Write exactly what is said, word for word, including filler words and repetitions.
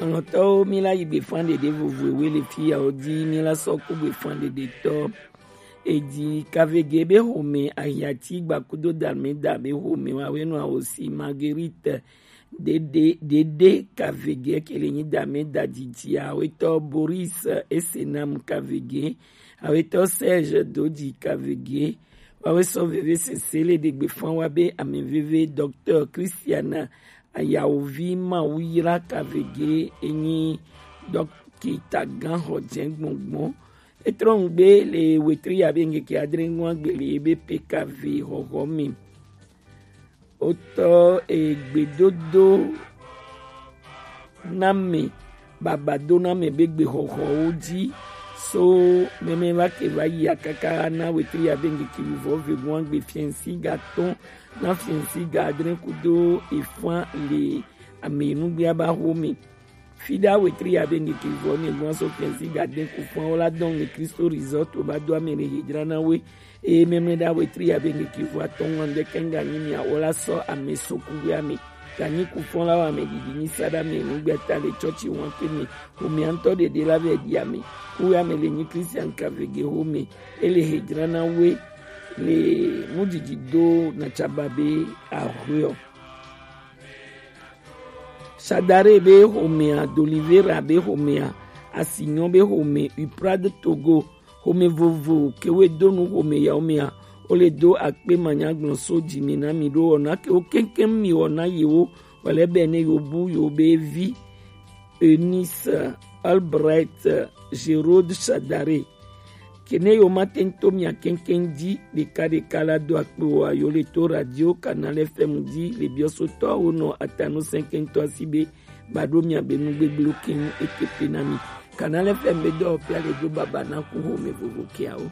Lɔlɔ̃tɔwo, mi la yi gbefan ɖeɖe vovo ewe le fi ya wo di, mi la sɔ ku gbefan ɖeɖetɔ. Edi Kavege be home ahiati gbakudo dame da be home wa we nɔ awo si Marguerite Dede, Dede Kavege ke le nyi dame da didi awetɔ Boris Esenam Kavege, awetɔ Serge Dodi Kavege, wawe sɔ veve sese le ɖe gbefan wa be ame veve Docteur Christiana Ayawovi Mawuyra Kavege enyi dɔkita gan xɔ jɛ gbɔngbɔn. Etrɔ ŋgbe le wetri ya be ŋkeke adre ŋua gbe le ebe P K V xɔxɔ mi. Wotɔ egbedodo na me, baba do na me be gbexɔxɔwo dzi. So mɛmɛ va ke va yi akaka na wetri ya be ŋkeke vivɔ ve ŋua gbe fiɛnsi ga tɔn na fiɛnsi ga adre kudo efan le ame nugbea ba xo mi. Fida wetri ya be ŋkeke vɔ ne gbɔn so fiɛnsi ga de ku fɔn wala dɔn le Kristo Resort o ba do ame le hejra na we. Eye mɛmɛ da wetri ya be ŋkeke vɔ atɔn ŋwan de kɛn ga nyi mi awola sɔ ame so ku we ame. Ga nyi ku fɔn la wa ame didi nyi sada me nugbea ta le tsɔtsi wan ke mi. Ko mi antɔ ɖeɖe la vɛ di ame. Ku we ame le nyi Christian Kavege ho me. Ele hejra na we le nudidi do na tsaba be ahwe o. Shadare be xomea, Dolivera be xomea, Asinyɔ be xome, Uprade Togo, xome vovo kewe do nu xome yawo mea, wo le do akpe manyagblɔ so dzi me na mi ɖo wɔna kewo keŋkeŋ mi wɔna yewo wale be ne yo bu yo be vi Eunice Albright Gerode Shadare. Kene yo ma tento mia keŋkeŋ dzi ɖeka ɖeka la do akpe wa yo le to radio Canal F M dzi le biɔsotɔwo nɔ atanu sɛnkɛntɔ asi be ba ɖo mia be nu gbegblẽ keŋ eke pe na mi. Canal F M be dɔwɔƒea le do baba na ku xome vovo keawo.